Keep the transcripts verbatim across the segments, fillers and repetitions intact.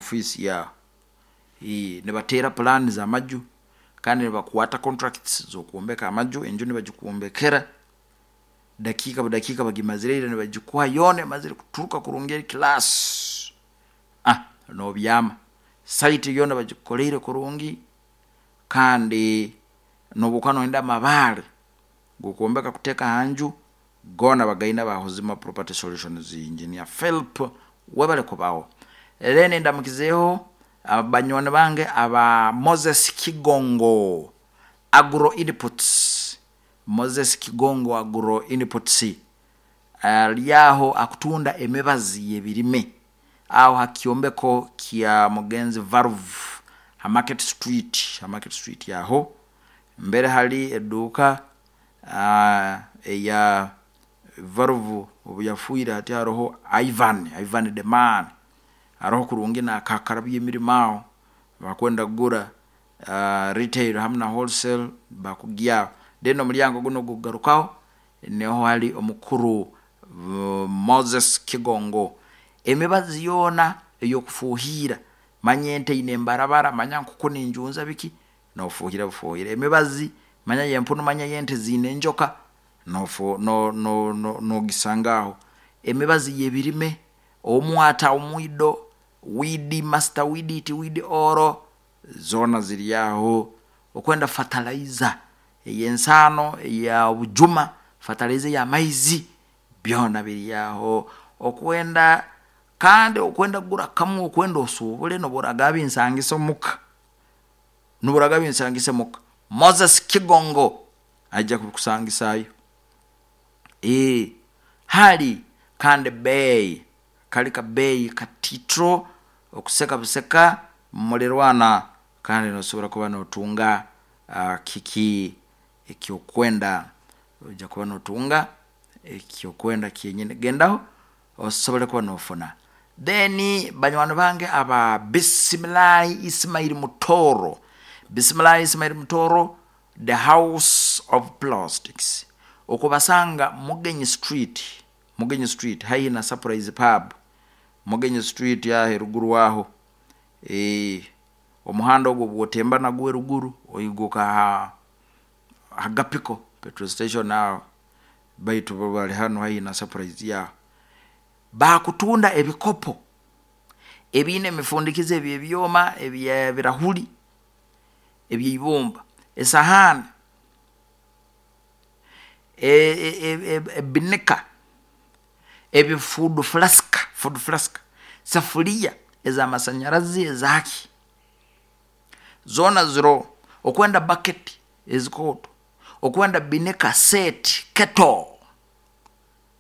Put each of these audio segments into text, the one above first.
Ofiisi yaho nibateera pulaani z'amaju, kandi nibakwata contracts z'okwombeka amaju. Enju nibagikwombekera dakiika budakiika, bagimazire ira, nibagikuha yoona emazire kuturuka kurungi, eri class, ah nobyama. Site yoona bagikukoleire kurungi, kandi nobu okuba noyenda amabaare gokwombeka kuteeka hanju, goona bagaine aba Hozima Property Solutions. Engineer Philip, webale kubaho. Then ndamukizeeho banywani bange aba Moses Kigongo Agro Inputs. Moses Kigongo Agro Inputs ali aho akutunda emibazi y'ebirime, aho ha kyombeko kya mugenzi Valve ha Market Street, ha Market Street aho mbere hali eduuka eya Valve obu yafiire. Hati haroho Ivan, Ivan the man, aroho kurungi nakakarabya emirimo aho. Abakwenda kugura retail hamu na wholesale bakugyaho. Then omuryango gunu ogukugarukaho niho hari omukuru Moses Kigongo. Emibazi yoona ey'okufuuhirra, manya ente eine embarabara, manya enkoko nenjunza biki, nofuuhira bufuhire emibazi, manya y'empunu, manya y'ente ziine enjoka, nogisanga aho. Emibazi y'ebirime, omwata, omwido, weed master, weed it, weed all, zoona ziri aho. Okwenda fertilizer ey'ensaano, ey'obujuma, fertilizer ey'amaizi, byoona biri aho. Okwenda kandi okwenda kugura kamwe, okwenda osuubule, nobu oragamba binsangise omuka, nobu oragamba binsangise muka, Moses Kigongo aija kubikusangisaayo. Hali kandi beeyi kali kabeeyi katiito, okuseka buseka mulirwaana, kandi nosobora kuba notunga kiki ekyokwenda, noija kuba notunga ekyokwenda kyenyini. Gendaho osobole kuba nofuna. Then banywani bange aba Bisimilahi Ismail Mutooro, Bisimilahi Ismail Mutooro, the House of Plastics, okubasanga Mugenyi Street, Mugenyi Street haihi na Surprise Pub, Mugenyi Street aho eruguru aho, omuhanda ogu obu otemba nagwo eruguru oiguka ha Hagapiko petrol station aho, baitu bo bari hanu haihi na Surprise aho. Bakutunda ebikopo ebiine emifundikizo eby'ebyoma, eby'ebirahuri, ebyeibumba, esahaani, ebinika, ebi food flask, food flask, safuriya ez'amasanyarazi, ezaaki, zoona ziroho. Okwenda bucket ezikooto, okwenda binika set, kettle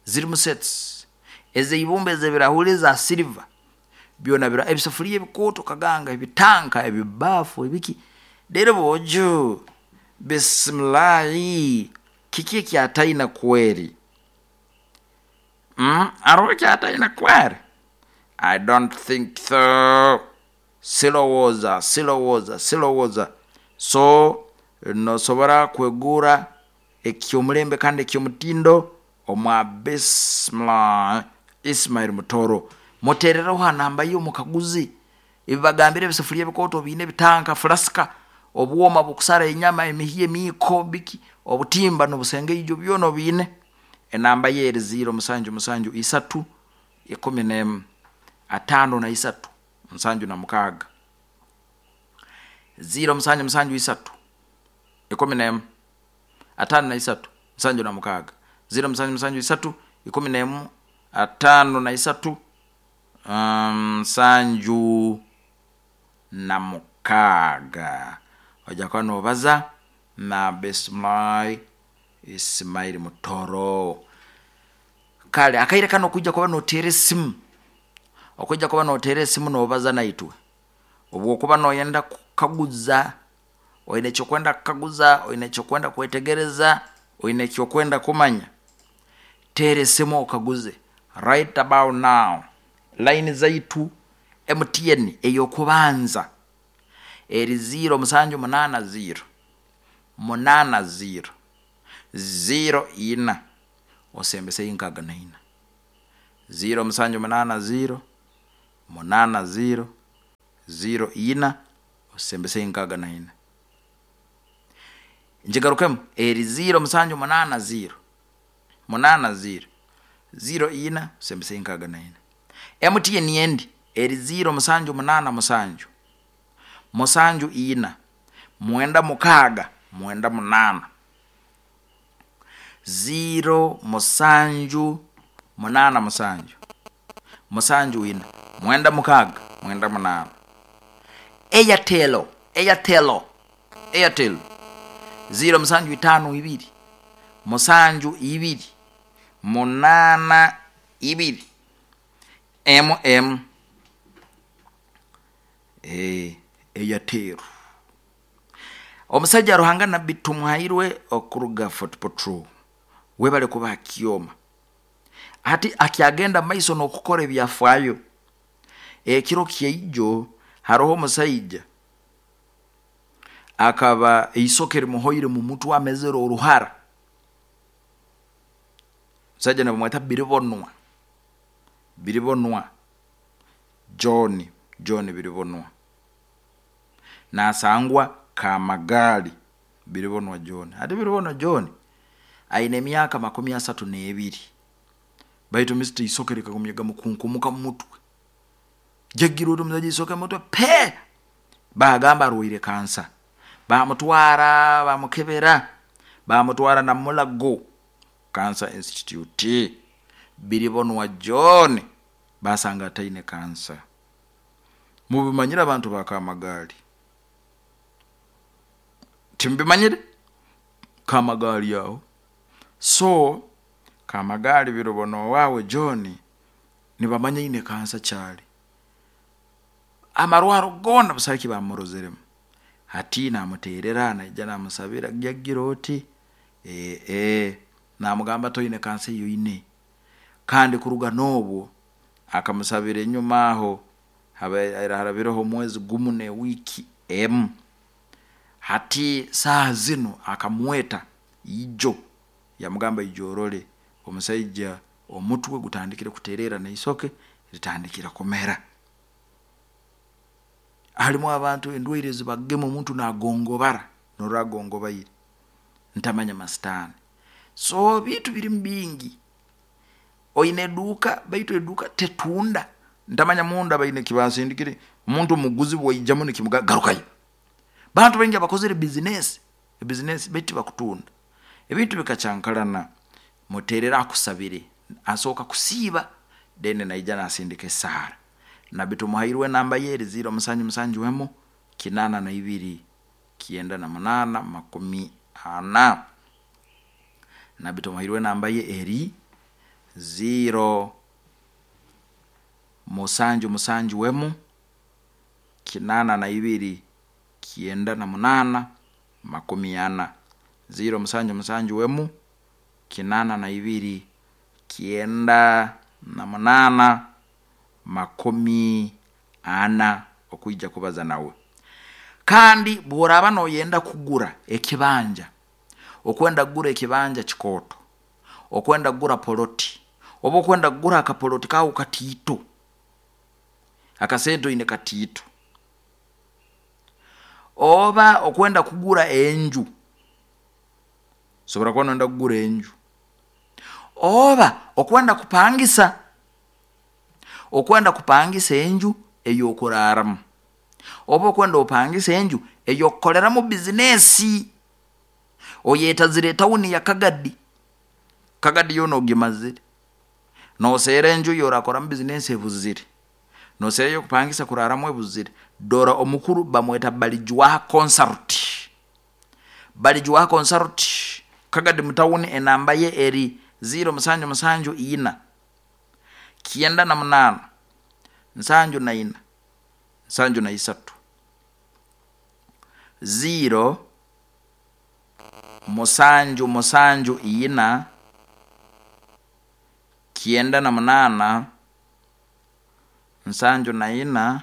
zirimu sets ezeibumba, ezebirahuri, eza silver, byoona biroho, ebisafuriya ebikooto kaganga, ebitanka, ebibaafu, ebiki, rero boojo Bisimilahi kiki eki ataine kweri? Haroho eki ataine kweri? I don't think so, sirowooza, sirowooza, sirowooza. So nosobora kwegurra eky'omulembe kandi ekyomutindo omwa Bisimilahi Ismail Mutooro. Muteerereho ha namba ye omukaguze ebi mbagambire, ebisafuriya ebikooto obiine, ebitanka, flask, obwooma bwokusara enyama, emihyo, emiiko, biki, obutimba nobusengeijo byoona obiine. Enamba ye eri ziro musanju musanju isatu, ikumi neemu, ataano na isatu, nsanju na mukaaga, ziro musanju musanju isatu, ikumi neemu, ataano na isatu, nsanju na mukaaga, ziro musanju musanju isatu, ikumi neemu, ataano na isatu, nsanju na mukaaga. Oija kuba nobaza na Bisimilahi Ismail Mutooro. Kare akaire kanu okwiija kuba noteera esimu, okwiija kuba noteera esimu nobaza naitwe, obu okuba noyenda kukaguza, oyina ekyokwenda kukaguza, oyina ekyokwenda kwetegereza, oyina ekyokwenda kumanya, teera esimu okaguze right about now. Line zaitu, M T N ey'okubanza eri ziro musanju munaana ziro, munaana ziro, ziro ina, osembeseyo nkaaga na ina, ziro musanju munaana ziro, munaana ziro. ziro ina osembese nkaaga na ina. Njigarukemu eri ziro musanju munana ziro munana ziro ziro ina osembese nkaaga na ina. M T N endi eri ziro musanju munana musanju musanju ina mwenda mukaaga mwenda munana ziro musanju munana musanju musanju ina mwenda mukaaga mwenda munana. Airtel, Airtel, Airtel ziro musanju itano ibiri musanju ibiri munana ibiri M M eh Airtel. Omusajja Ruhanga Nabbi Tumuhairwe okuruga Fort Portal webale kuba akioma ati akiagenda maiso n'okukora ebyafaayo. Ekiro kyeijo haroho omusajja akaba eisoke rimuhoire mu mutwe amezero oruhara. Musajja nabamweta Biribonwa, Biribonwa John, John Biribonwa nasangwa Kamagali. Biribonwa John ati Biribonwa John aine emyaka makumi asatu n'ebiri, baitu misiti isoke likagumyaga mukunkumuka mu mutwe jagira oti omusajja isoke mutwe pe bagamba arwaire kansa, bamutwara bamukebera bamutwara na Mulago Cancer Institute. Biribonwa John basanga ataine kansa. Mubimanyire abantu ba Kamagali? Timbimanyire Kamagali aho. So Kamagali Biribonwa wawe John nibamanya ine kansa kyali amarwaro gona busaki bamurozeremu. Hati namuterera naija namusabira jagira oti eh eh namugamba toine kansa iyo ine. Kandi kuruga nobwo akamusabira enyuma aho harabireho omwezi gumu ne wiki emu. Hati saa zino akamweta ijo yamugamba ijorole omusajja omutwe gutandikire kuterera neisoke litandikira kumera. Halimu abantu endwaire zibagema omuntu nagongobara noragongobaire ntamanya masitani. So bitu biri mbingi oine eduka baitu eduka tetunda ntamanya munda baine kibasindikire omuntu muguzi bwaijamu nikimugagarukayo. Bantu baingi abakozere business business beti bakutunda ebintu bikachankalana. Muterera akusabire asoka kusiba dene naija nasindika esara. Nabbi Tumuhairwe namba ye ziro musanju musanju wemo kinana na ibiri kienda na munana makumi ana. Nabbi Tumuhairwe namba ye eri ziro musanju musanju wemo kinana na ibiri kienda na munana makumi ana. Ziro musanju musanju wemu kinana na ibiri kienda na munana makumi ana okuija kubaza nawe. Kandi bworaba noyenda kugura ekibanja, okwenda kugura ekibanja kikoto, okwenda kugura poloti, oba okwenda kugura akapoloti kawo katiito, akasento ine katiito, oba okwenda kugura enju, sobora kuba noyenda kugura enju, oba okwenda kupangisa, okwenda kupangisa enju eyokuraramu, oba okwenda opangisa enju eyokukoreramu bizinesi, oyetazire tawuni ya Kagadi, Kagadi yoona ogimazire, noseera enju yorakoramu bizinesi ebuzire, noseera eyokupangisa kuraramu ebuzire. Dora omukuru bamweta Balijwaha Consult, Balijwaha Consult Kagadi mutawuni, enamba ye eri ziro musanju musanju ina kienda na munana nsanju na ina nsanju na isatu ziro musanju musanju ina kienda na munana nsanju na ina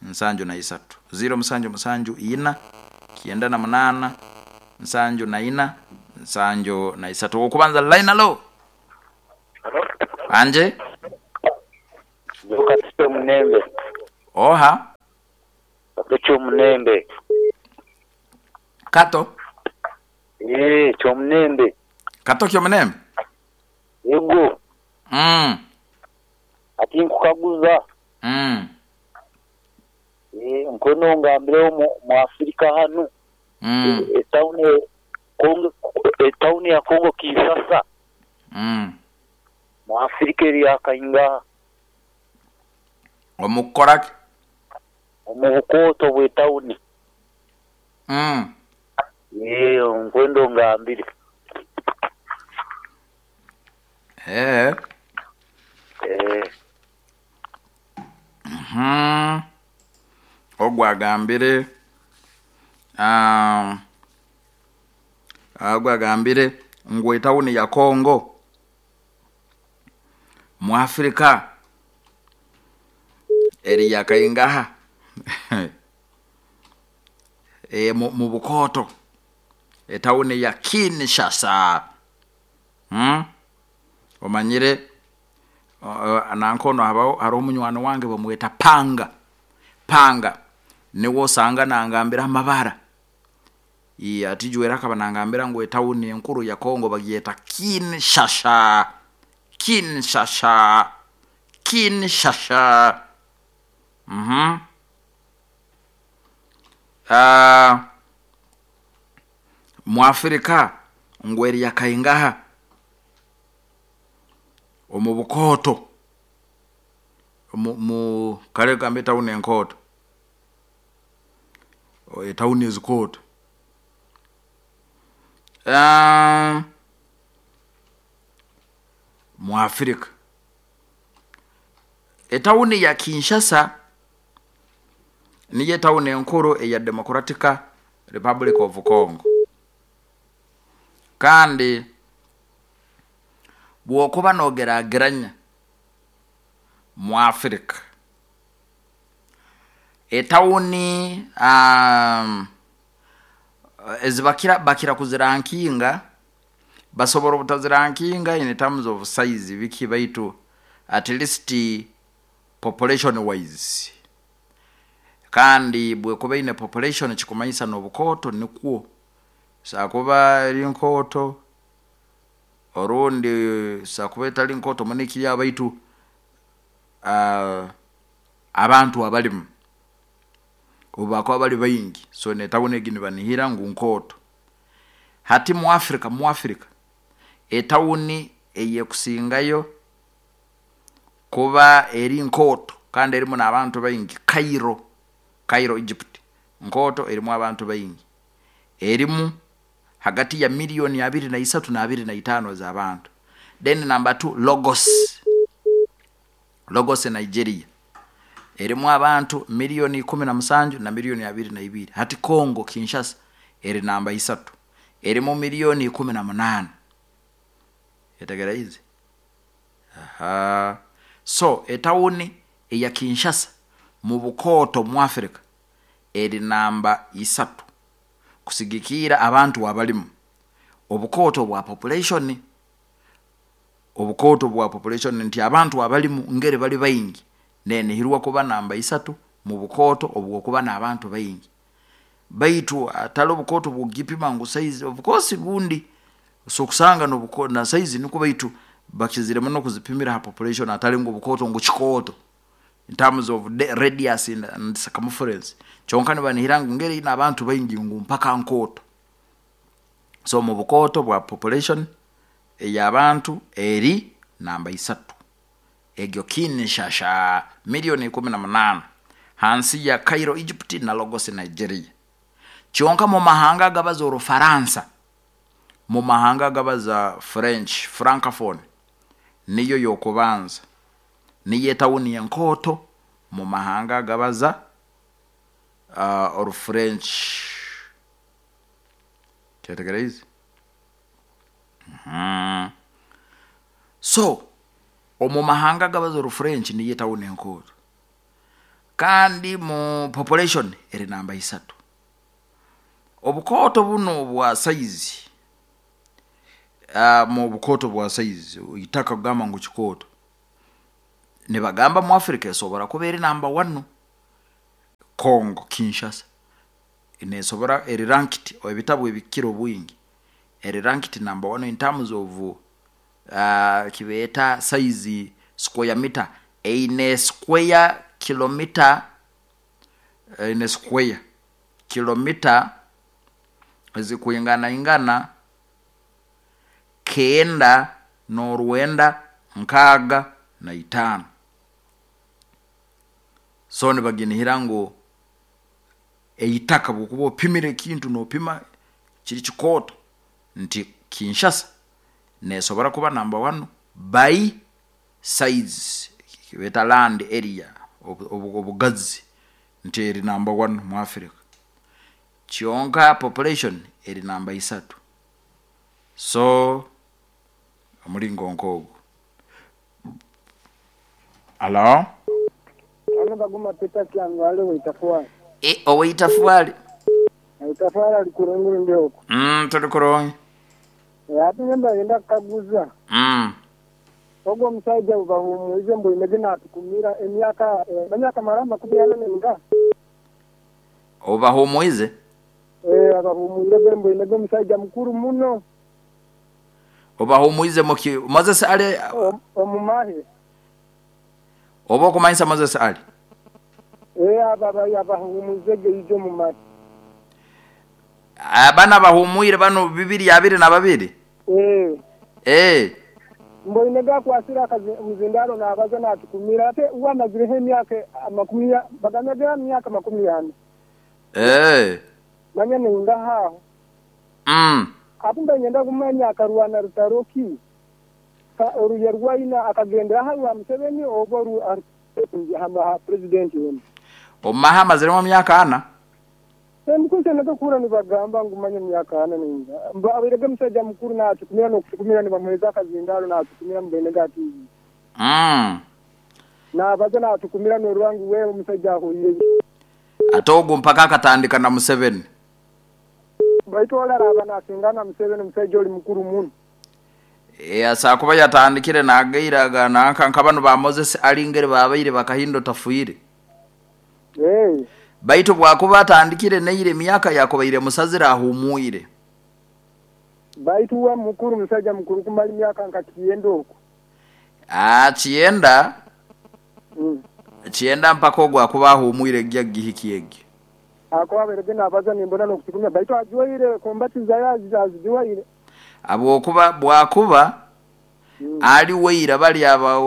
nsanju na isatu ziro musanju musanju ina kienda na munana nsanju na ina nsanju na isatu. Okubanza line alo anje Mnembe. Oha Kato Kyomunembe. Kato? Ee, Kyomunembe. Kato Kyomunembe? Yego. Mm. Ati nkukaguza. Mm. Ee, nkono ngambireho mu, mu Afrika hanu. Mm. E, etawuni Kongo, etawuni ya Kongo Kinshasa. Mm. Mu Afrika eri yakaingaha. Omukukoraki? Omu bukooto bw'etawuni. Mm. Ee, nkwenda ongambire. Ee. Ee. Mhm. Ogwo agambire um, ogwo agambire ngu etawuni ya Kongo mu Afrika eri yakaingaha e, mu, mu bukooto etawuni ya Kinshasa. Hmm? Omanyire uh, nankono habaho hariho omunywani wange bamweta Panga. Panga niwe osanga nangambira amabara. Iye atijwera akaba nangambira ngu etawuni enkuru ya Kongo bagyeta Kinshasa. Kinshasa. Kinshasa. Mhm. Uh, mu Afrika ngu eri yakaingaha omu bukooto mu, mu kale gambe etawuni enkooto etawuni ezikooto. Um, mu Afrika etawuni ya Kinshasa niyo etawuni enkuru eya Democratic Republic of Congo. Kandi bwokuba nogerageranya mu Afrika etawuni um, ezibakira bakira kuzirankinga, basobora obutazirankinga in terms of size biki, baitu at least population wise. Kandi bwekuba ine population kikumanyisa n'obukooto nikwo sakuba eri nkooto orundi sakuba etali nkooto munikiri, baitu uh, abantu abalimu obu bakuba bali baingi, so netawuni egi nibanihira ngu nkooto. Hati mu Afrika, mu Afrika etawuni eyekusingayo kuba eri nkooto kandi erimu n'abantu baingi, Cairo. Cairo Egypt nkooto erimu abantu baingi, erimu hagati ya milioni abiri na isatu na abiri na itaano z'abantu. Then number two, Lagos. Lagos Nigeria erimu abantu milioni ikumi na musanju na milioni abiri na ibiri. Hati Kongo Kinshasa eri namba isatu, erimu milioni ikumi na munaana. Etegera izi. Aha. So etawuni eya Kinshasa mu bukooto mu Afrika eri namba isatu kusigikira abantu abalimu. Obukooto bwa population, obukooto bwa population nti abantu abalimu ngeri bali baingi, nenihirwa kuba namba isatu mu bukooto obwokuba n'abantu baingi. Baitu atali obukooto bwogipima ngu size, of course bundi so kusanga nobuko na size niko, baitu bakiziremu nokuzipimira ha population, atali ngu obukooto ngu kikooto in terms of the radius and, and circumference. Kyonka nibanihira ngu ngeri ina abantu baingi ngu mpaka nkooto. So mu bukooto bwa population ey'abantu eri namba isatu, egyo Kinshasa milioni ikumi na munaana, hansi ya Cairo Egypt na Lagos Nigeria. Kyonka mu mahanga agabaza Orufaransa, mu mahanga agabaza French francophone, niyo yokubanza, niyo etawuni enkooto mu mahanga agabaza uh, Orufrench. Kyetegereza. Mm. So omu mahanga agabaza Orufrench niyo etawuni enkooto, kandi mu population eri namba isatu. Obukooto buno bwa size, uh, mu bukooto bwa size itaka kugamba ngu kikooto, nibagamba mu Afrika esobora kuba eri namba one. Congo Kinshasa nesobora eri ranked ebitabu ebikira obwingi eri ranked number one in terms of uh, kibeeta size square meter eine square kilometer eine square kilomita ezikuingana ingana kenda n'orwenda nkaaga na itaano. So nibaginihira ngu eitaka bwokuba opimire ekintu nopima kiri kikooto nti Kinshasa nesobora kuba number one by size, kibeeta land area, obugazi nti eri number one mu Africa. Kyonka population eri namba isatu. So omulingo nk'ogwo. Alo. Ano baguma Peter Kyangwale weitafwali. E oweitafwali. Itafwali ali kurunguru ndio huko. Mm tuli kurungi. E ati nyemba yenda kaguza. Mm. Ogwo omusajja ubahumuize mbu imege natukumira emyaka emyaka maramba makumi ana n'enga. Obahumuize? Eh abahumuize mbu imege omusajja mukuru muno. Obahumuize muki Moses Ali omumahe. Oba okumanyisa Moses Ali? Eh aba abahumuize ijo mumahe. Abana bahumuire bano bibiri abiri na babiri? Eh. Eh. Mbo inega kwasira kazi mzindaro na abaza na tukumira ate uwa mazirehe emyaka makumi bagamega myaka makumi ana. Eh. Manya ninga haho. Mm. Akumba nyenda kumanya akarwana rutaroki. Ka oruyerwaina akagendera hawa Museveni oba ru hama president wenu. Omaha maziremo myaka ana? Mukuse nakakura nibagamba ngumanya myaka ana ninga. Abirege musajja mukuru na atukumira no kutukumira nibamuheza akazindaro na atukumira mbene ati. Mm. Na abaza na atukumira no rwangu wewe musajja ahuye. Atogo mpaka akatandika na Museveni. Baitu wala abana asingana Museveni musajja oli mukuru muno. Eh asa kuba yatandikire nagairaga nanka nkabano ba Moses alingere babaire bakahindo tafuire. Eh. Baitu bwakuba atandikire neire myaka yakobaire musazira ahumuire. Baitu wa mukuru musajja mukuru kumali myaka nka kiyenda okwo. Ah kiyenda? Mm. Kiyenda mpaka ogwo akuba ahumuire gya gihiki egi. Ako aberege nabaza nimbona no kutukumya baitu ajuwaire kombati zayazi azijuwaire. Abo kuba bwakuba mm. Ali weira bali aba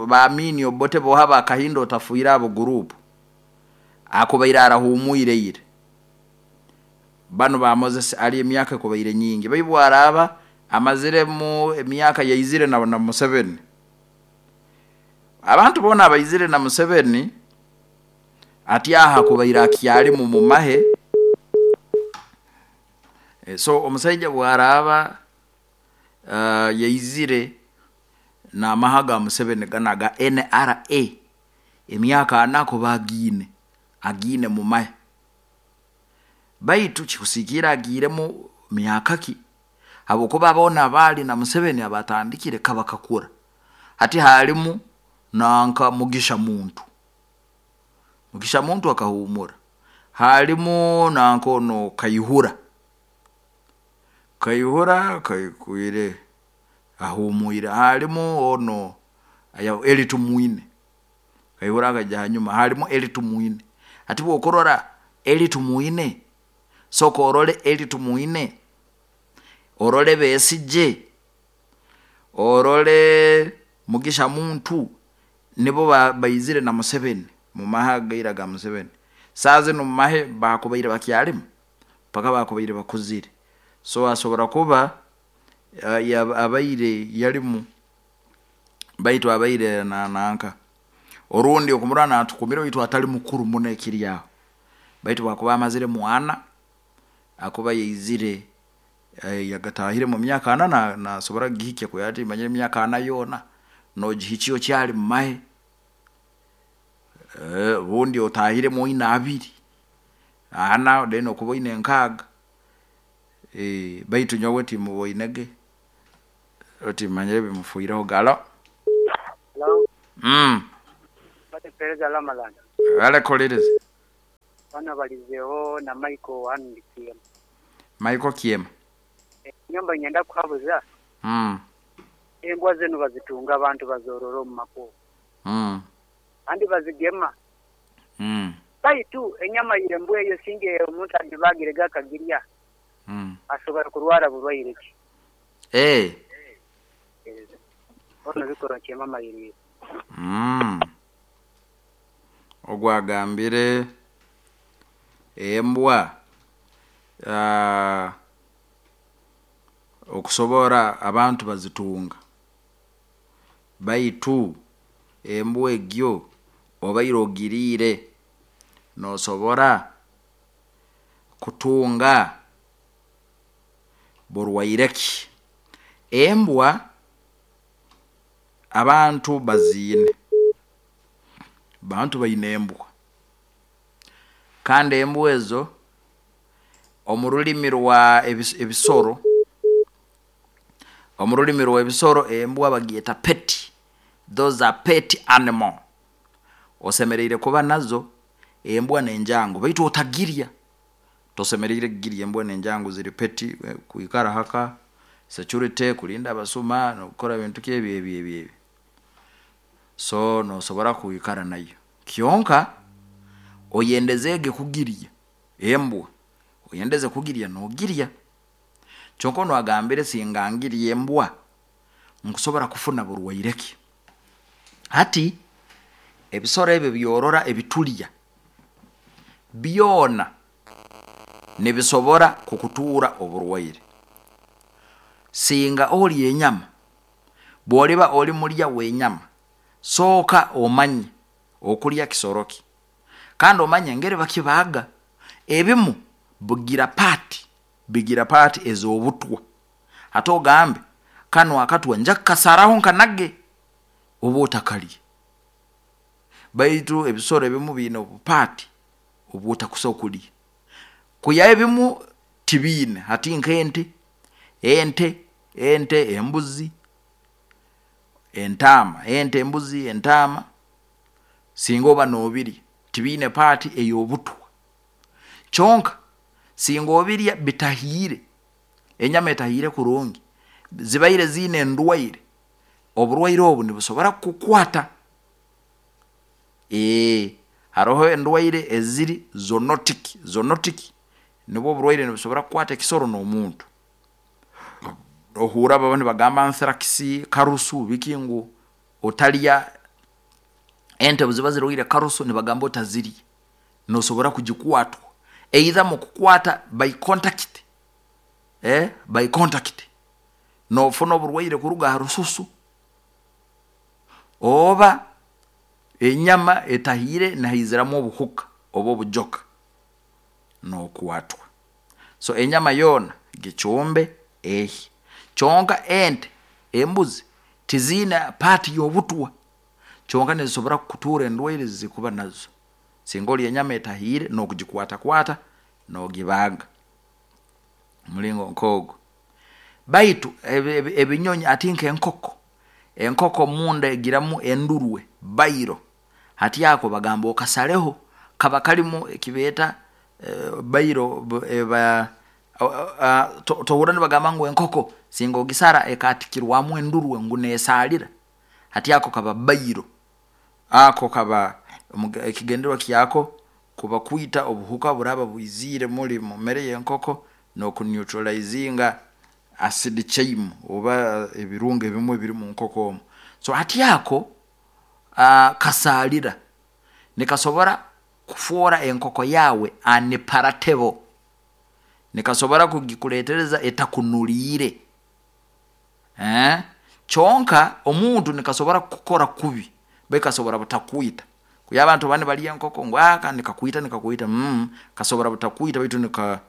baamini obote boha bakahindo tafuira abo group. Akubaira arahumuire ire. Bano ba Moses ali emyaka kubaire nyingi. Baibu araba amazire mu emyaka yaizire na na Museveni. Abantu bona abaizire na Museveni ati aha kubaira akyali mu mumahe. E, so omusajja bwaraba uh, yaizire na mahaga Museveni ganaga N R A emyaka anako bagine agine mumahe. Baitu kikusikira agiremu myaka ki habokuba bona bali na Museveni abatandikire kabakakura. Hati halimu nanka Mugisha Muntu. Mugisha Muntu akahumura. Halimu nanko no Kayihura. Kayihura kayikuire ahumuire. Halimu ono aya Elitumwine. Kayihura akaja hanyuma halimu Elitumwine. Ati bwokorora Elitumwine soko orole Elitumwine orole Besigye orole Mugisha Muntu nibo baizire na Museveni mu mahaga ga Museveni. Saze no mahe bakubaire bakyalimu paka bakubaire bakuzire. So asobora kuba uh, abaire yalimu baitu abaire na nanka orundi okumurana atukumira bitu atali mukuru muno ekiri aho. Baitu bakuba amazire mwana akuba yeizire eh, yagatahire mu myaka ana na, na sobora gihike ko yati manyire myaka ana yona no gihikiyo cyari mahe eh bundi otahire mu ina abiri ana deno kubo ine nkaga eh baitu nyowe timu boinege oti manyire bimufuiraho galo. Hello. Mm. Bate pereza la malanda. Wale koliriz. Bana balizeho na Michael hano ndi Kiema. Michael Kiema. Nyomba nyenda kuhabuza. Mm. Embwa zenu bazitunga abantu bazorora omu makubo. Mm. Kandi bazigema. Mm. Baitu enyama y'embwa eyo singe omuntu agibagire gakagirya. Mm. Asobora kurwara burwaire ki? Eh. Ono bikora kyema mayiri. Mm. Ogwagambire embwa uh, okusobora abantu bazitunga baitu embwa egyo obaire ogiriire nosobora kutunga burwaire ki? Embwa abantu baziine, bantu baine embwa, kandi embwa ezo omu rulimi rwa ebisoro, omu rulimi rwa ebisoro embwa bagyeta pet, those are pet animal. Osemeriire kuba nazo embwa n'enjangu, baitu otagirya, tosemeriire kugirya. Embwa n'enjangu ziri pet, kwikara haka security, kulinda abasuma n'okukora ebintu ki ebi ebi ebi ebi, so nosobora kwikara nayo. Kyonka oyendezeege kugirya embwa, oyendeze kugirya nogirya. Kyonka onu agambire singa ngirya embwa nkusobora kufuna burwaire ki? Hati ebisoro ebi ebyorora ebitulya byoona nibisobora kukutuura oburwaire. Singa orya enyama, bworiba ori murya w'enyama, sooka omanye okurya kisoro ki, kandi omanye engeri bakibaaga. Ebimu bigira part, bigira part ez'obutwa, hati ogambe kanu akatwa nja kukasaraho nkanage, oba otakarya. Baitu ebisoro ebimu biine obupaati obu otakusobora kurya, kwihaho ebimu tibiine, hati nk'ente, ente, ente, embuzi, entaama, ente, embuzi, entaama, singa oba nobirya tibiine part ey'obutwa. Kyonka singa obirya bitahiire, enyama etahiire kurungi, zibaire ziine endwaire, oburwaire obu nibusobora kukukwata. Haroho endwaire eziri zoonotic, zoonotic nubwo oburwaire nibusobora kukwata ekisoro n'omuntu. Ohuurra abamu nibagamba anthrax, karusu biki ngu otarya ente obu ziba zirwaire karusu nibagamba otazirya, nosobora kugikwatwa, either mukukwata by contact, by contact, nofuna oburwaire kuruga ha rususu, oba enyama etahiire nihaiziramu obuhuka oba obujoka nokwatwa. So enyama yoona gicumbe ehye, kyonka ente, embuzi tiziine part y'obutwa, kyonka nizisobora kukutuura endwaire ezikuba nazo singa orya enyama etahiire nokugikwaatakwata nogibaaga, omuringo nk'ogwo. Baitu ebinyonyi hati nk'enkoko, enkoko munda egiramu endurwe, bairo, hati ako bagamba okasareho, kaba karimu ekibeeta bairo, tohuurra nibagamba ngu enkoko singa ogisara ekaatikirwamu endurwe ngu nesaarira, hati ako kaba bairo, ako kaba ekigendererwa kyako kuba kwiita obuhuka oburaaba bwiziire muri mumere y'enkoko noku neutralizinga acid chyme oba ebirungo ebimu ebiri munkoko omu. So hati ako kasaarira, nikasobora kufoora enkoko yaawe unpalatable, nikasobora kugikureetereza etakunuriire, kyonka omuntu nikasobora kukukora kubi baitu kasobora butakwiita, kwihaho abantu abandi nibarya enkoko ngu nikakwiita nikakwiita, kasobora butakwiita baitu nika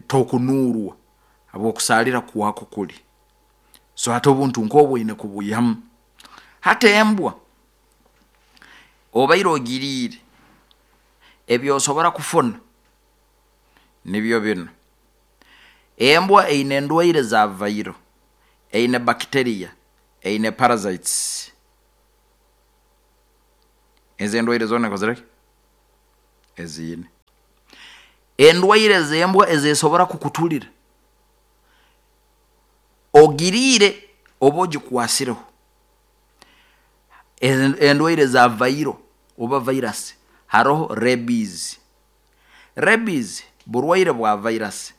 tokunuurwa habwokusaalira kwako kuri. So hati obuntu nkobu oine kubwiihamu. Hati embwa obaire ogiriire, ebi osobola kufuna nibyo binu, embwa eine endwaire za viral, eine bacteria, eine parasites, ezi endwaire zoona ekozireki, eziine. Endwaire z'embwa ezesobora kukutulira ogiriire oba ogikwasireho, endwaire za viral oba virus, haroho rabies. Rabies burwaire bwa virus,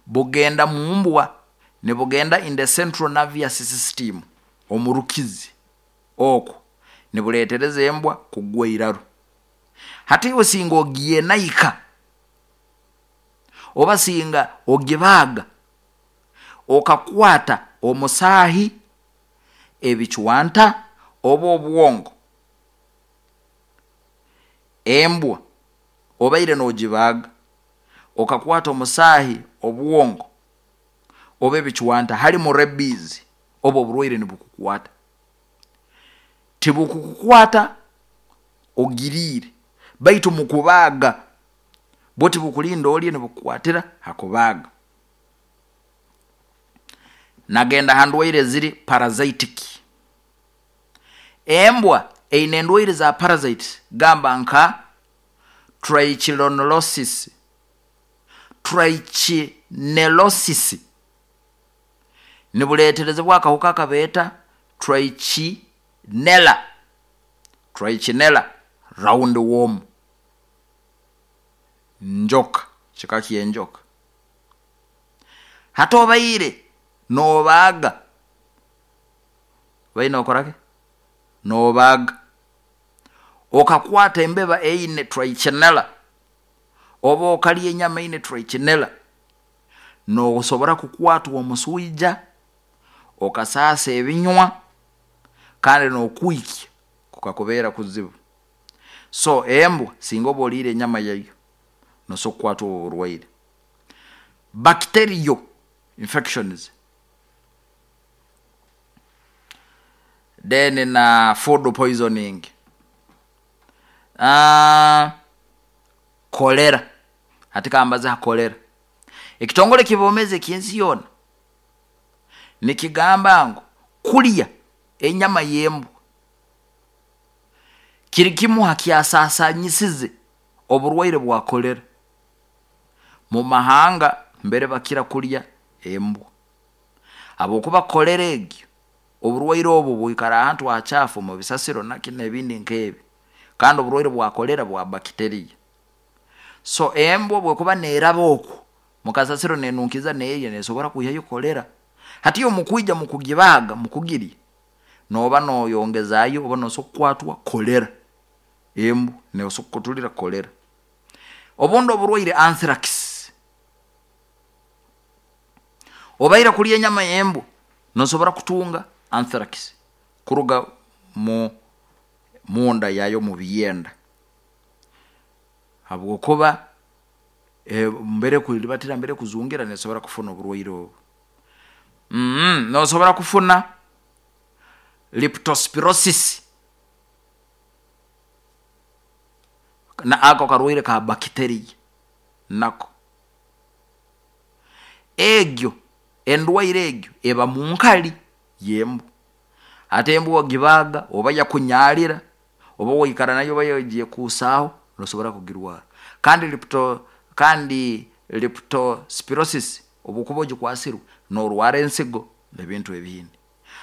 bugenda mumbwa, nibugenda in the central nervous system, omurukizi oku, nibureetereza embwa kugwa eiraru. Hati iwe singa ogyenaika oba singa ogibaaga, okakwata omusaahi, ebicwanta oba obwongo, embwa obaire nogibaaga okakwata omusaahi, obwongo oba ebicwanta harumu rabies, obu oburwaire nibukukwata. Tibukukukwata ogiriire, baitu mukubaaga, bwo tibukulinda olye, nibukukwatira hakubaaga. Nagenda handwaire eziri parasitic, embwa eine endwaire za parasites gamba nka trichilonolosis, trichinellosis, nibureeterezibwa akahuka akabeeta trichinella, trichinella round worm, njoka, kika ky'enjoka. Hati obaire nobaaga, obaire nokoraki, nobaaga okakwata embeba eine trichinella oba okarya enyama eine trichinella, nosobora kukwatwa omuswiija, okasaasa ebinywa, kandi nokwiikya kukakubeera kuzibu. So embwa singa oba oriire enyama yayo, nosobola kukwatwa obu oburwaire. Bacterial infections, then na food poisoning, cholera, hati kambaze ha cholera. Ekitongore ekyobwoomeezi ekyensi yoona nikigamba ngu kurya enyama yembwa kiri kimu hakyasaasanisize oburwaire bwa cholera mumahanga mbere bakira kurya embwa, habwokuba cholera egi, oburwaire obu bwiikara ahantu acaafu mubisasiro naki nebindi nkebi, kandi oburwaire bwa cholera bwa bacteria. So embwa obu ekuba neraba oku mukasasiro nenunkiza nerya, nesobora kwiihayo cholera. Hati iwe mukwiija mukugibaaga mukugirya, nooba noyongezaayo oba nosobola kukwatwa cholera, embwa nesobola kukutulira cholera. Obundi oburwiire anthrax, obaire kurya enyama yembwa nosobola kutunga anthrax kuruga mu munda yayo mubyenda, habwokuba mbere ekuribatira mbere ekuzungira nesobora kufuna oburwaire obu. Nosobola kufuna leptospirosis, ako karwiire ka bacteria nako. Egyo endwaire egyo eba munkari yembwa, hati embwa ogibaaga oba yakunyaarira, oba waikara nayo oba yagyekuusaaho, nosobola kugirwaara. Kandi lepto kandi leptospirosis obu okuba ogikwasirwe, norwaara ensigo nebintu ebindi.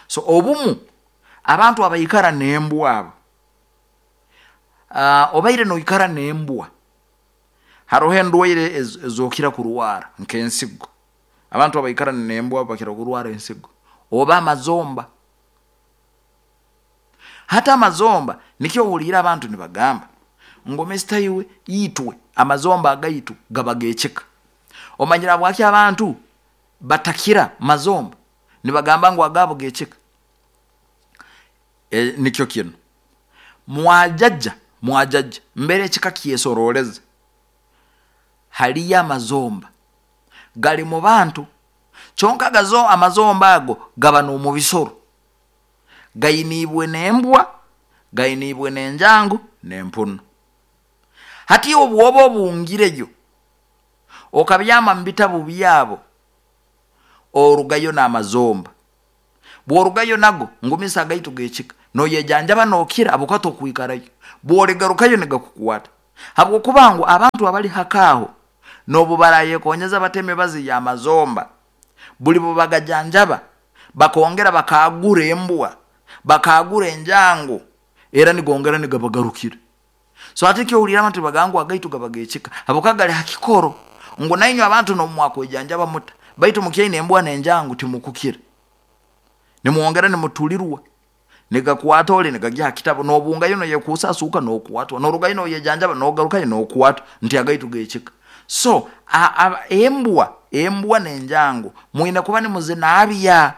So obumu abantu abaikara nembwa abo, obaire noikara nembwa, haroho endwaire ezi okira kurwaara nkensigo, abantu abaikara nembwa bakira kurwaara ensigo, oba amazomba. Hati amazomba, nikyo ohuuriire abantu nibagamba ngu Mister iwe, itwe amazomba agaitu gaba gekika. Omanyire habwaaki abantu batakira mazomba, nibagamba ngu agaabo gekika? Nikyo kinu, mwajajja, mwajajja mbere ekika kyesorooleza, hariyo amazomba gari mubantu, kyonka amazomba ago gaba nomubisoro, gainiibwe nembwa, gainiibwe nenjangu, nempunu. Hati iwe obu oba obungireyo, okabyaama mubitabu byaabo, orugayo namazomba, obu orugayo nago ngumisa agaitu gekika, noyejanjaba nokira habwokuba tokwikarayo, obu origarukayo nigakukwaata, habwokuba ngu abantu abari hake aho N'obu barayekonyeza bata emibazi y'amazomba, buli bubagajanjaba bakongera bakagura embwa, bakagura enjangu, era nigongera nigabagarukira. So ate kyowulira abantu bagangwa agaitu gabagekika habwokuba gali hakikoro ngu nainywe abantu nomwakwejanjaba muta, baitu mukyaine embwa n'enjangu timukukira, nimwongera nimutulirwa, nigakwata oli nigagya ha kitabo, nobungayo noyekuusa asuuka nokwatwa, norugayo noyejanjaba nogarukayo nokwatwa, nti agaitu gekika. So a, a, embwa embwa n'enjangu mwine kuba nimuzinaabya.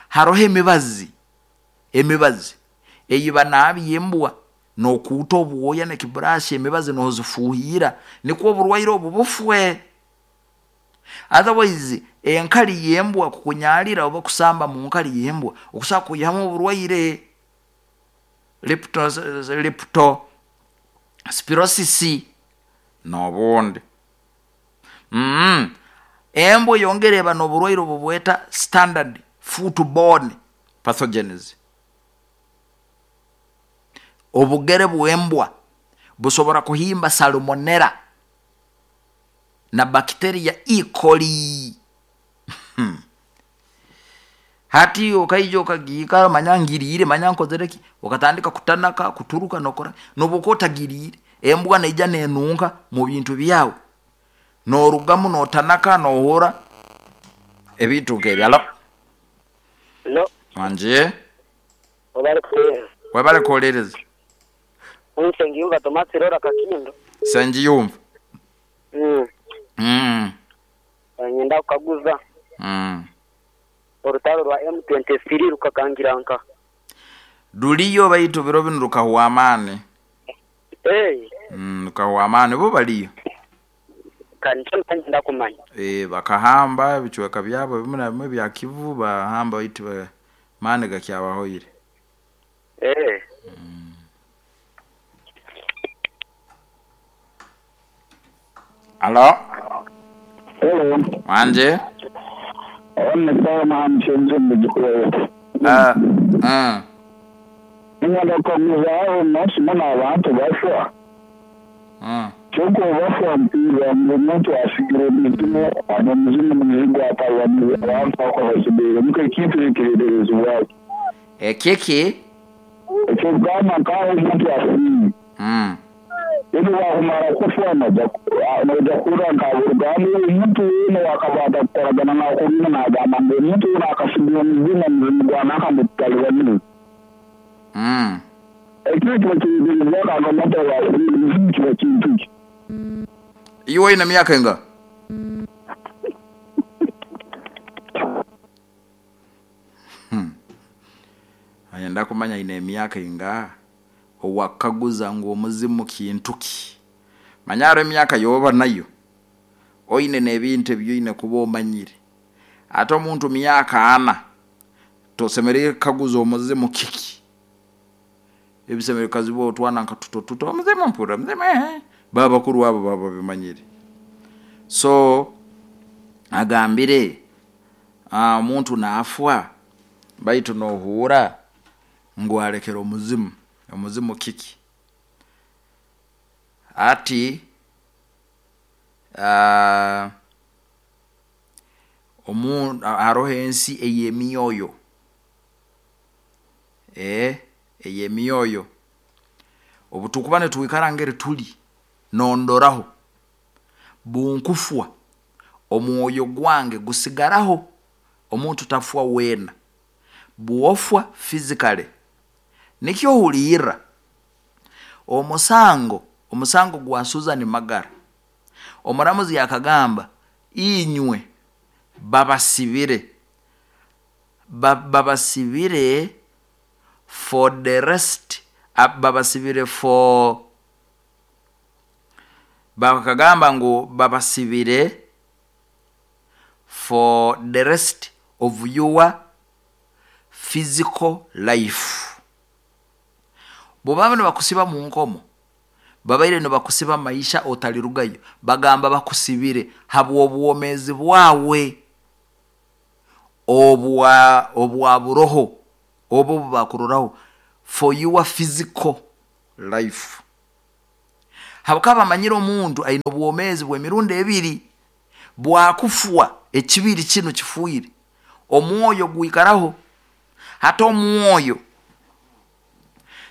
Haroho emibazi emibazi eyibanabya embwa nokuuta obwoya n'ekiburashi, emibazi nozifuuhira nikwo oburwaire obu bufwe. Otherwise enkali y'embwa kukunyalira oba kusamba mu nkali y'embwa okusobola kwihamu oburwaire lepto leptospirosis n'obundi. mm. Embwa eyongera eba n'oburwaire obubweta standard footborne pathogens. Obugere bw'embwa busobora kuhimba salmonella na bacteria E. coli. Hati okaija okagiikara, manya ngiriire, manya nkozere ki, okatandika kutanaka, kuturuka nokora, nobu okuba otagiriire, embwa neija nenunka mu bintu byawe, norugamu notanaka nohura ebintu nk'ebyo. Alo? No. Wanje. Obale kuhereza. Webale kuholereza. Nsengiyumva Tomasi Rora Kakindo. Sengiyumva. Mm. Mm. Nyenda kukaguza. Mm. Orutaro rwa M twenty-three rukakangira nka Ruliyo, baitu biro binu rukahwa amaani. Hey. Mm, rukahwa amaani, bo baliyo. Kandi nyenda kumanya. E, bakahamba ebicweka byabo bimu na bimwe bya Kivu, bahamba, baitu ba- maani gakyabahoire. Eh. Mm. Alo? Hello. Wanje. One mshenzi mujikuwewe. Uh, uh. Ngenda kukaguza nosima abantu bafwa. Mm. Kyokka bafwa mpiira omuntu asigire omuzimu, omuzimu muzigu atalwa abantu akola muka ekintu ekireerezibwaki. Ekiki? Ekyokugamba nkaho omuntu afiire. Mm. Ebi wakumara kufa noja kuhurra nkaburugamba omuntu weena wakabanda kukoragana nakurina nagamba ngu omuntu weena akasigira omuzimu, omuzimu gwanaka mutalibanize. Mm. Ekyo kiba kireerezibwaki omuntu owafiire, omuzimu kiba kintu ki? Iwe oine myaka enga? Hmm. Ayenda kumanya ine emyaka inga owakaguza ngu omuzimu kintu ki. Manyaro emyaka yoba nayo oine n'ebintu ebyoine kuba omanyire. Ate omuntu myaka ana tosemereire kukaguza omuzimu kiki. Ebisemereire kukazibwa otwana nka tuto tuto, omuzimu mpurra omuzimu eh. Baba bakuru abo baba babimanyire. So agambire omuntu naafwa baitu nohuura ngu alekere omuzimu, omuzimu kiki. Ati uh, omu haroho ensi ey'emyoyo, eh, ey'emyoyo. Obu tukuba nitwikara ngeri tuli nondoraho bunkufwa omwoyo gwange gusigaraho. Omuntu tafwa weena, bwofwa physically nikyo ohulirra omusango omusango gwa Susan Magara, omuramuzi akagamba inywe babasibire ba, babasibire for the rest, babasibire for, bakagamba ngu babasibire for the rest of your physical life. Bwobaba nibakusiba mu nkomo, babaire nibakusiba maisha otalirugayo, bagamba bakusibire habw'obwomeezi bwawe obwa obwa buroho obo bubakuroraho for your physical life. Habwokuba bamanyire omuntu aine obwomeezi bw'emirundi ebiri, bwakufwa ekibiri kinu kifuire, omwoyo gwikaraho. Hati omwoyo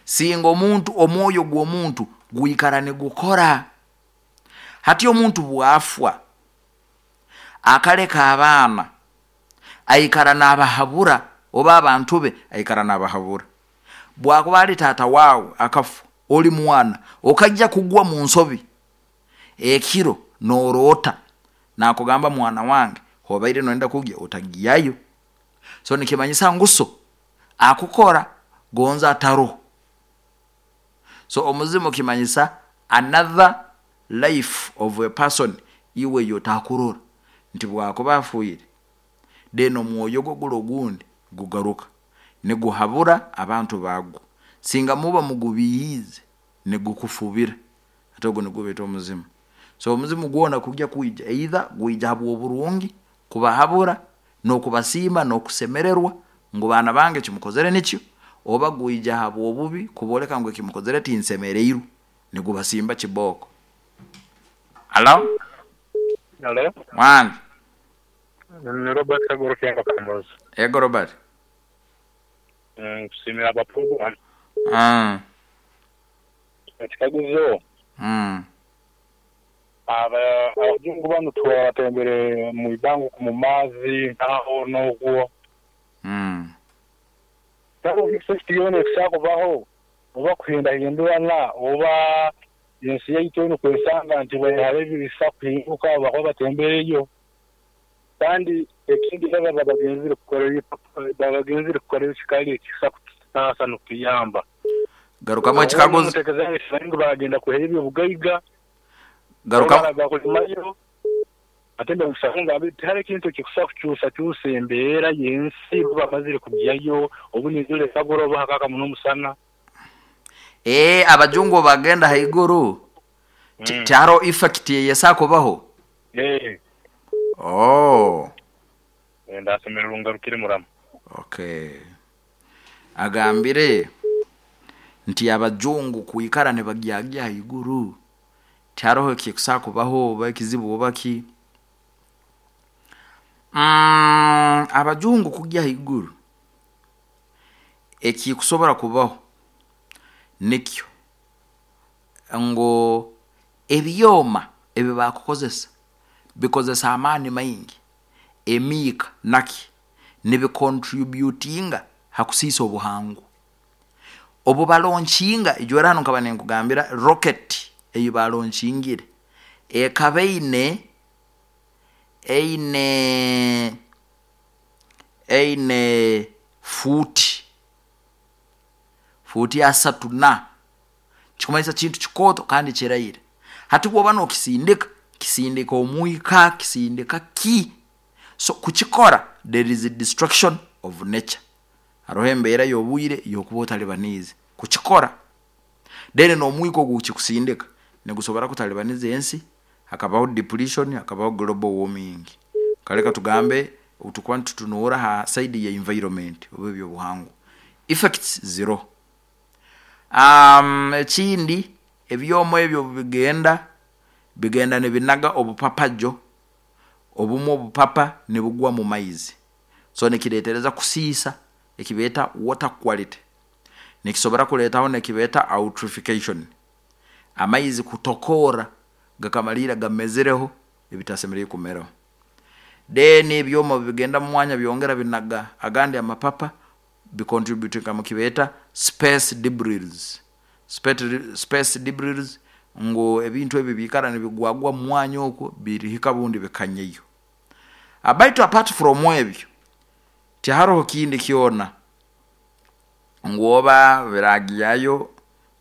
singa omuntu, omwoyo gw'omuntu gwikara nigukora. Hati omuntu bwafwa akaleka abaana, aikara nabahabura, oba abantu be aikara nabahabura. Bwakuba ali taata waawe akafa, oli mwana okajya kugwa mu nsobi, ekiro noroota nakugamba, mwana wange hobaire noyenda kugya otagyayo. So nikimanyisa ngu so akukora gonza ataroho. So omuzimu kimanyisa another life of a person iwe yotakurora nti bwakuba afuire, then omwoyo gwe guli ogundi gugaruka niguhabura abantu bagwo. Singa muba mugubiihiize nigukufubira, hati ogu nigwo beeta omuzimu. So omuzimu gwona kugya kwija, either gwija habwoburungi kubahabura nokubasiima nokusemererwa ngu baana bange ekimukozere nikyo, oba gwija habwobubi kubooleka ngu ekimukozere tinsemereirwe, nigubasimba kibooko. Halo? Halo? Wange. Ni Robert Kagoro Kianga Kambozi. Ego Robert. Nkusiimira aba program. Mm. Ekikaguzo. Mm. Aba abajungu banu tubatembere mu ibanga mu maazi nkaho n'ogwo. Mm. Tabo ekisiyone ekishakubaho oba kuhindahindurana oba ensi yaitu enu kwesanga nti hariho ebisa kuhinduka bakuba batembereyo. Kandi ekindi baba babagenzire kukora babagenzire kukora ekikali ekisa kututaasa n'okutuyamba. Garukamu ekikaguzo. Ngu bagenda kuhera ebyobugaiga. Garukamu. Bakulimayo. Ate ndamusanga tihariho ekintu ekikusa kukyusa kyusa embeera y'ensi bamazire kugyayo obu nizule kagoroba hakaka muno omusana. Eh, abajungu bagenda haiguru. Mm. Tihariho effect eyesakubaho. Eh. Oh. Ndasemererwa ngarukire muramu. Okay. Agambire nti abajungu kuikara nibagyagya haiguru tihariho ekikusakubaho oba ekizibu oba ki. Mm, abajungu kugya haiguru ekikusobora kubaho nikyo ngu ebyoma ebi bakukozesa bikozesa amaani maingi, emiika naki nibicontributinga hakusiisa obuhangwa. Obu balaunchinga, ijwera hanu nkaba ninkugambira rocket eyi balaunchingiire ekaba eine eine eine fuuti fuuti asatu na kikumanyisa kintu kikooto kandi kiraire. Hati bwoba nokisindika, kisindika omwika, kisindika ki. So kukikora there is a destruction of nature. Haroho embeera y'obwire yokuba otalibaniize kukikora. Then n'omwika ogu kikusindika nigusobora kutalibaniza ensi, hakabaho depletion, hakabaho global warming. Kale katugambe tukuba nitutunuura ha side ya environment oba ebyobuhangwa. Effects zero. Um, ekindi ebyoma ebyo bigenda bigenda nibinaga obupapajo, obumu obupapa nibugwa mu maizi. So nikireetereza kusiisa ekibeeta water quality. Nikisobora kuleetaho nekibeeta eutrophication, amaizi kutokoora gakamaliira gamezereho ebitasemeriire kumeraho. Then ebyoma bigenda mu mwanya byongera binaga agandi amapapa bicontributinga mu kibeeta space debris. Space debris ngu ebintu ebi biikara nibigwagwa mu mwanya okwo birihika bundi bikanyayo. Baitu apart from ebyo tiharoho kindi kyona ngu oba biragyayo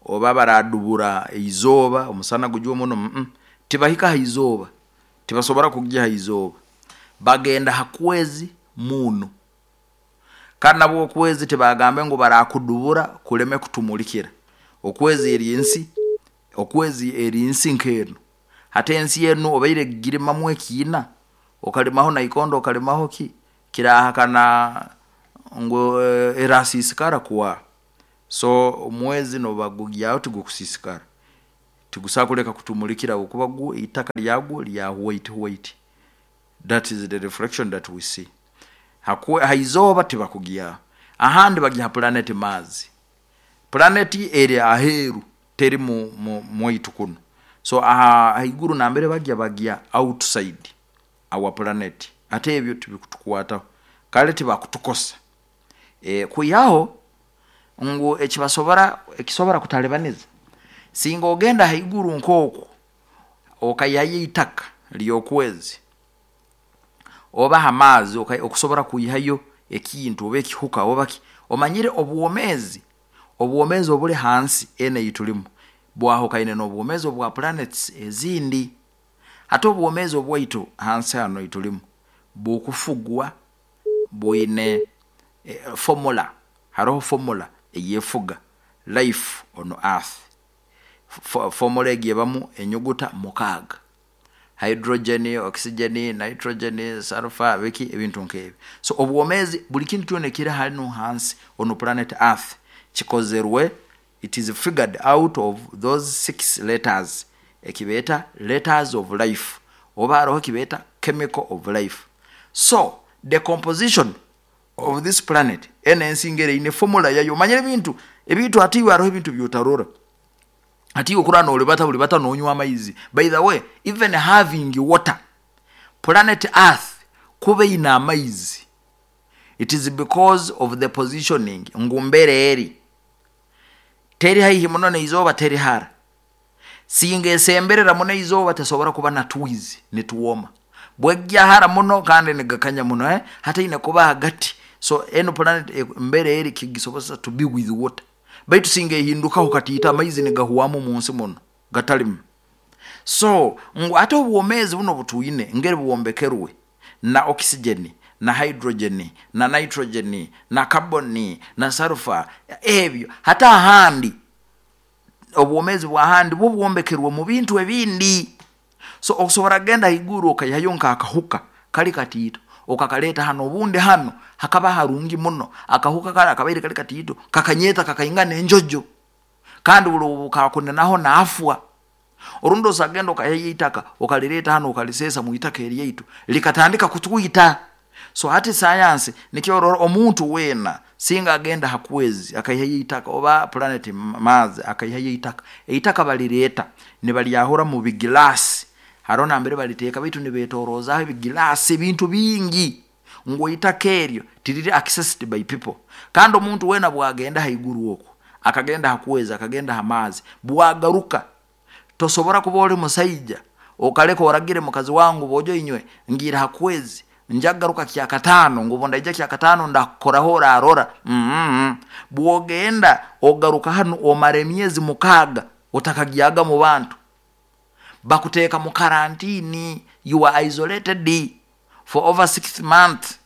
oba baradubura izooba omusana gujwe muno, mm tibahika ha izooba, tibasobora kugya ha izooba, bagenda ha kwezi muno. Kandi nabwo okwezi tibagambe ngu barakudubura kuleme kutumulikira. Okwezi eri ensi, okwezi eri nsi nk'enu. Hati ensi enu obaire girimamu ekiina, okalimaho naikondo okalimaho ki, kirahakana ngu erasiisikara kuwa. So omwezi nobagugyaho tigukusiisikara. Tigusakuleka kutumulikira okuba gwo eitaka lyagwo lya white white. That is the reflection that we see. Hakwe haizoba tibakugia. Ahandi bagiha planet Mars. Planet eri aheru teri mu, mu mwaitu kuno. So aha haiguru nambere bagia bagia outside our planet. Ate ebyo tibikutukwata. Kale tibakutukosa. E, kuyaho ngu ekibasobora ekisobora kutalebaniza. Singa ogenda haiguru nkoko okayaye itaka lyokwezi oba hamazi okusobora kuyihayo ekintu oba ekihuka oba ki omanyire obwomezi obwomezi obuli hansi ene itulimu bwahokaine n'obwomezi obwa planets ezindi. Hata obwomezi obwaitu hansi hano itulimu bukufugwa bwine e, formula. Haroho formula eyefuga life on earth. Formula egiyebamu enyuguta mukaaga: hydrogen, oxygen, nitrogen, sulfur, biki ebintu nk'ebyo. So obwomezi buli kintu kyona ekiri hano hansi on planet earth kikozerwe, it is figured out of those six letters, ekibeta letters of life oba haroho ekibeta chemical of life. So the composition of this planet ene ensi ngere ine formula yayo. Omanyire ebintu ebintu atiwe haroho ebintu byotarora ati okura nolibata buli bata nonywa amaizi. By the way, even having water, planet earth kuba ina amaizi, it is because of the positioning ngu mbere eri teri haihi muno neizoba teri hara. Singa esemberera muno eizoba tesobora kuba na twizi nituwoma bwejja hara muno kandi nigakanya muno eh? Hata ine kuba hagati. So eno planet eh, mbere eri kigisobosa to be with water. Baitu singa ehindukaho katiita amaizi nigahuwamu munsi muno gatalimu. So ngu ate obwomezi buno butuine ngeri buwombekerwe na oxygen na hydrogen na nitrogen na carbon na sulfur ebyo. Hata ahandi obwomezi bwahandi bwo buwombekerwe mu bintu ebindi. So okusobora genda haiguru okayihayo nk'akahuka kali katiito okakaleta hano obundi hano hakaba harungi muno akahuka kali akabaire kali katiito kakanyeta kakaingana enjojo kandi buli kakunenaho naafwa. Orundi osagenda okayihayo itaka okalileta hano okalisesa mu itaka eryaitu likatandika kutwita. So hati sayansi nikyo omuntu wena singa agenda hakwezi akayihayo itaka oba planet Mars akayihayo itaka eitaka balileta nibalyahura mu bigilasi haro nambere baliteeka baitu nibetorozaho ebigilasi ebintu bingi ngu itaka eryo tiriri accessed by people. Kandi omuntu wena bwagenda haiguru okwo akagenda hakwezi akagenda hamazi bwagaruka tosobora kuba oli musaija okaleka oragire mukazi wangu bojo inywe ngira hakwezi njagaruka kya katano ngubo ndaija kya katano ndakoraho orarora. mm -hmm. Bwogenda ogaruka hano omara emyezi mukaaga otakagiaga mu bantu bakuteeka mu karantini, you are isolated for over six months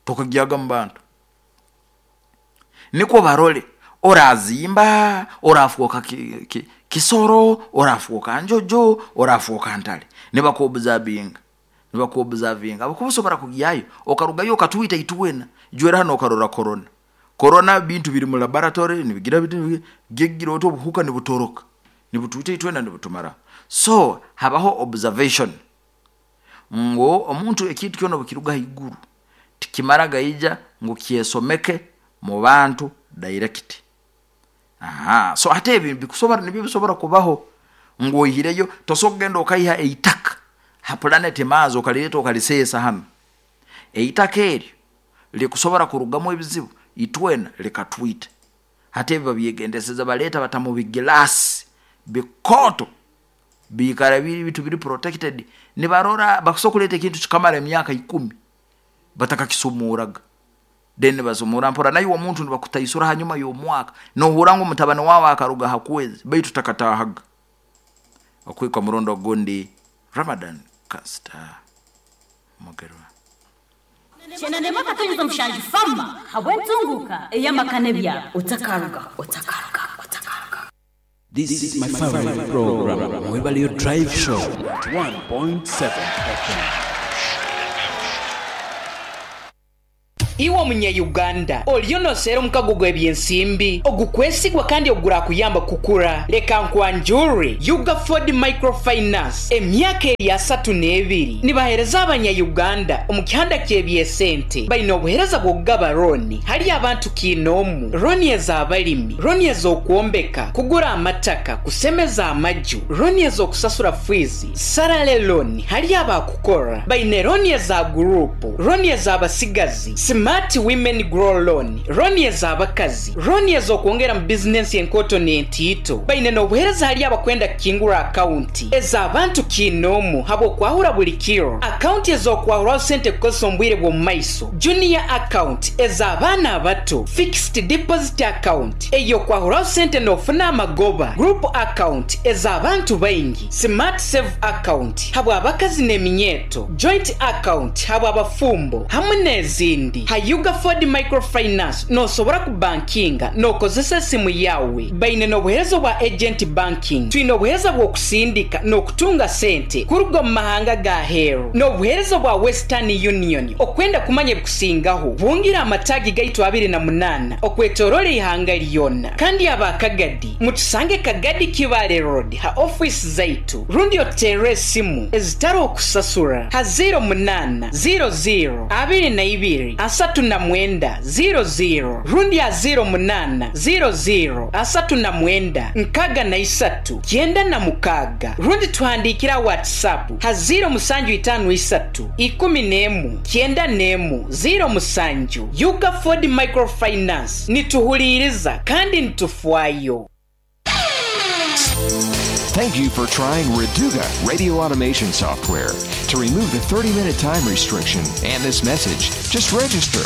tokagiaga mu bantu. Niko barole orazimba orafuoka ki, ki, kisoro orafuoka njojo orafuoka ntale nibakuobservinga nibakuobservinga abakubusobora kugiyayo okarugayo okatwita itwena jwera hano okarora corona corona bintu biri mu laboratory nibigira bitu gegira oto obuhuka nibutoroka nibutwita itwena nibutumara. So habaho observation ngo omuntu ekintu kyona bukiruga haiguru tikimara gaija ngo kyesomeke mu bantu direct. Aha, so ate ebi bikusobora nibyo bisobora kubaho ngo oyihireyo tosogenda okayiha eitaka ha planet Mars okalileta okalisesa hano eitaka eryo likusobora kurugamu ebizibu itwena likatwita. Hate ebi babyegendeseza baleta bata mu bigilasi bikoto bikara biri bitu biri protected nibarora bakusobola kuleta ekintu kikamara emyaka ikumi batakakisumuraga then basumura mpora nayo omuntu nibakutaisura hanyuma y'omwaka nohura ngo mutabani wawe akaruga hakwezi baitu takatahaga. Okwikwa murondo gundi Ramadan Kasta Mugerwa. Chenanema katonyeza mushanju fama habwentunguka eyamakane otakaruga otakaruga otakaruga. This is my favorite program, Mwebalio Drive Show, one point seven F M. Iwe omunya-Uganda oliyo noseera omukago gw'ebyensimbi ogukwesigwa kandi ogurakuyamba kukura. Leka nkwanjure Ugaford Microfinance emyaka eri asatu n'ebiri nibahereza abanya-Uganda omu kihanda ky'ebyesente. Baine obuhereza bw'okugaba roni hali abantu kiinoomu, roni ez'abalimi, roni ez'okwombeka, kugura amataka, kusemeza amaju, roni ez'okusasura fiizi, sarale loni hali abakukora. Baine roni eza gurupu, roni ez'abasigazi, Smart Women Grow Loan, roni ez'abakazi, roni ez'okwongera mu bizinensi enkoto n'entiito. Baine n'obuhereza hali abakwenda kukingura akaunti ez'abantu kiinoomu habw'okwahura buli kiro, akaunti ez'okwahuraho sente kukozesa omu bwire bw'omu maiso, junior account ez'abaana abato, fixed deposit account ey'okwahuraho sente n'ofuna amagoba, group account ez'abantu baingi, smart save account habw'abakazi n'eminyeeto, joint account habw'abafumbo hamwe n'ezindi. Ha Ugaford Microfinance nosobora kubankinga n'okozesa esimu yawe. Baine n'obuhereza bwa agent banking, twine obuhereza bw'okusindika n'okutunga sente kuruga omu mahanga ga heru, n'obuhereza bwa Western Union. Okwenda kumanya ebikusingaho bungira amatagi gaitu abiri na munana okwetorola ihanga lyona. Kandi abakagadi mutusange Kagadi Kibale Road ha office zaitu, rundi otere esimu ezitari okusasura ha zero munana zero zero abiri na ibiri asatu na mwenda zero zero rundi ha zero munana zero zero asatu na mwenda nkaga na isatu kyenda na mukaga, rundi tuhandikira WhatsApp ha zero musanju itanu isatu ikumi n'emu kyenda n'emu zero musanju. Ugaford Microfinance nituhuliriza kandi nitufwayo. Thank you for trying Reduga radio automation software. To remove the thirty-minute time restriction and this message, just register.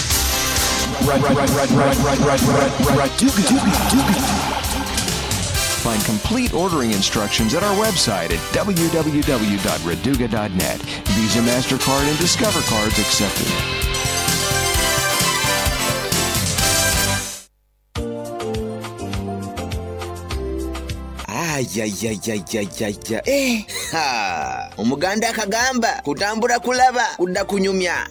Find complete ordering instructions at our website at w w w dot reduga dot net. Visa, MasterCard, and Discover cards accepted. Ayayayayayaya. Eh, ha. Omuganda akagamba kutambura kulaba kudda kunyumya.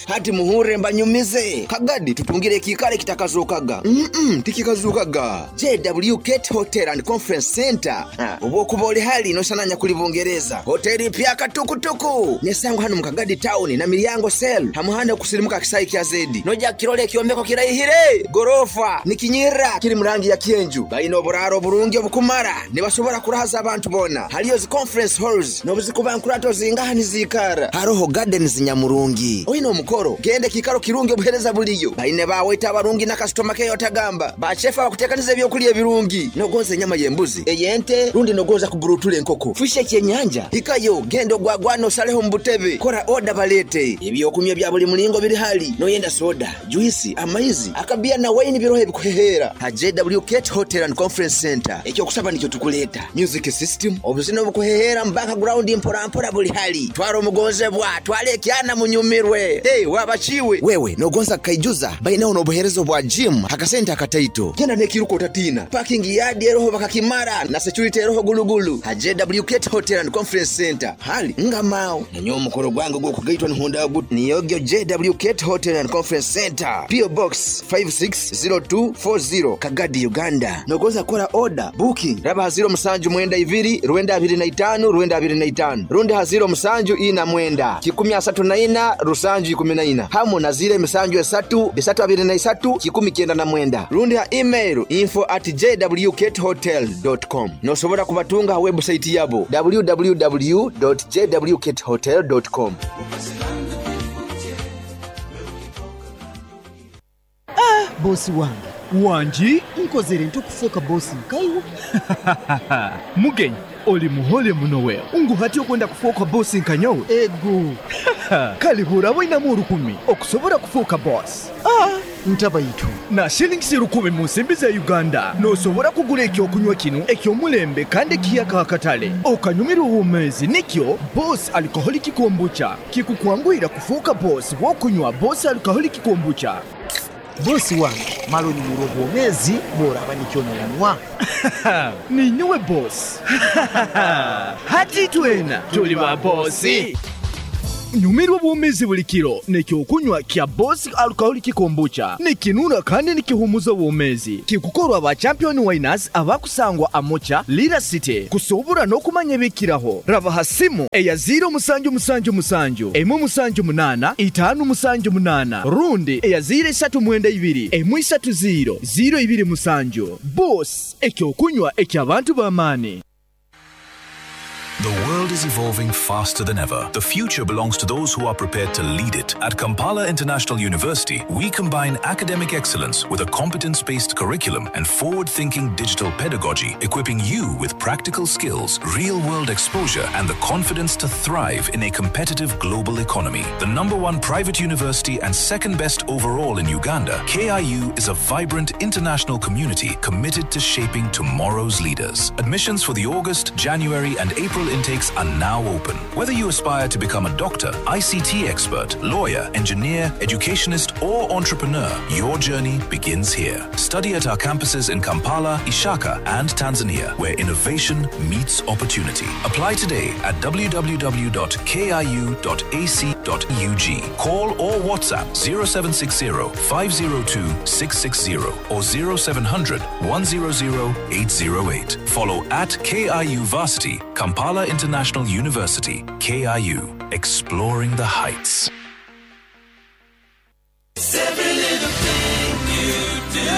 Hati muhure mbanyumize. Kagadi tutungire kikale kitakazukaga. Mm-mm, tikikazukaga. J W Gate Hotel and Conference Center. Obwokuba oli hali nosananya kuli Bungereza. Hoteli pya katukutuku. Nesango hano mu Kagadi town na Milyango cell. Hamuhanda kusirimuka kisayi kya Zedi. Noja kirole kyombeko kirayihire. Gorofa nikinyira kiri murangi ya kienju. Bayina oburaro burungi obukumara. Nibasobora kurahaza abantu bona. Haliyo zi conference halls nobuzikuba nkurato zingaha nizikara. Haroho gardens nyamurungi. Oyina omukoro gende kikaro kirungi obuhereza buliyo. Baine bawaita abarungi na customer care otagamba. Bachefa bakutekaniza ebyokulya ebirungi. Nogonza enyama y'embuzi, ey'ente, rundi nogonza kuburutula enkoko. Fishe kyenyanja. Hikayo genda ogwagwana osaleho mu butebe. Kora order balete. Ebyokunywa bya buli mulingo biri hali. Noyenda soda, juice, amaizi, akabia na wine birohe bikuhehera. Ha J W Gate Hotel and Conference Center. Ekyo kusaba nikyo tukuleta. Music system, obuzina obukuhehera mu background mpora mpora buli hali. Twara omugonzebwa, twale ekyana munyumirwe. Hey, wabachiwe. Wewe nogonza kaijuza baina ono obuherezo bwa gym hakasenta akataito. Genda nekiruko utatina. Parking yard eroho bakakimara na security eroho gulugulu. Ha J W Gate Hotel and Conference Center. Hali ngamao. Nanyo omukoro gwange gwokugaitwa nihonda gut. Niyogyo J W Gate Hotel and Conference Center. P O Box five six zero two four zero Kagadi, Uganda. Nogonza kora order booking raba zero musanju mwenda ibiri rwenda abiri na itanu rwenda abiri na itanu rundi haziro musanju ina mwenda kikumi asatu na ina rusanju ikumi na ina hamu na zile misanju esatu bisatu abiri na isatu kikumi kyenda na mwenda rundi ha email info at j w gate hotel dot com. Nosobora kubatunga ha website yabo w w w dot j w gate hotel dot com. Ah, bosi wange wangi nkozere ntukufuuka bosi nkaiwo. Mugenyi oli muhole muno wewe unguhati okwenda kufuuka bosi nkanyowe ego. Kalihura wainamu olukumi okusobola kufuuka bosi. Ah, ntabayitu na shillings lukumi mu nsimbi za Uganda nosobola kugula ekyokunywa kino ekyomulembe kandi ekiyaka akatale okanyumira obumeezi nikyo Boss Alcoholic Kombucha kikukwanguyira kufuuka bosi bw'okunywa Boss Alcoholic Kombucha. Bosi wange malo nyumira obwomezi bw'oraba nikyo noyanywa. Ninyowe bosi. Hati twena tuli ba bosi. Nyumirwa obwomeezi buli kiro n'ekyokunywa kya Boss Alcoholic Kombucha. Nikinura kandi nikihumuza obwomeezi. Kikukorwa ba Champion Winers abakusangwa Amocha, Lira City. Kusobora n'okumanya ebikiraho. Raba ha simu eya ziro musanju musanju musanju, emu musanju munana, itaano musanju munana, rundi eya ziro esatu mwenda ibiri, emu isatu ziro, ziro ibiri musanju. Boss, ekyokunywa eky'abantu b'amaani. The world is evolving faster than ever. The future belongs to those who are prepared to lead it. At Kampala International University, we combine academic excellence with a competence based curriculum and forward thinking digital pedagogy, equipping you with practical skills, real world exposure, and the confidence to thrive in a competitive global economy. The number one private university and second best overall in Uganda, K I U is a vibrant international community committed to shaping tomorrow's leaders. Admissions for the August, January, and April intakes are now open. Whether you aspire to become a doctor, I C T expert, lawyer, engineer, educationist, or entrepreneur, your journey begins here. Study at our campuses in Kampala, Ishaka, and Tanzania, where innovation meets opportunity. Apply today at w w w dot k i u dot a c dot u g. Call or WhatsApp zero seven six zero, five zero two, six six zero or zero seven hundred, one zero zero, eight zero eight. Follow at K I U Varsity, Kampala International University, K I U, exploring the heights. Every little thing you do.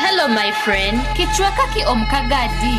Hello my friend, kichweka ki omukagadi.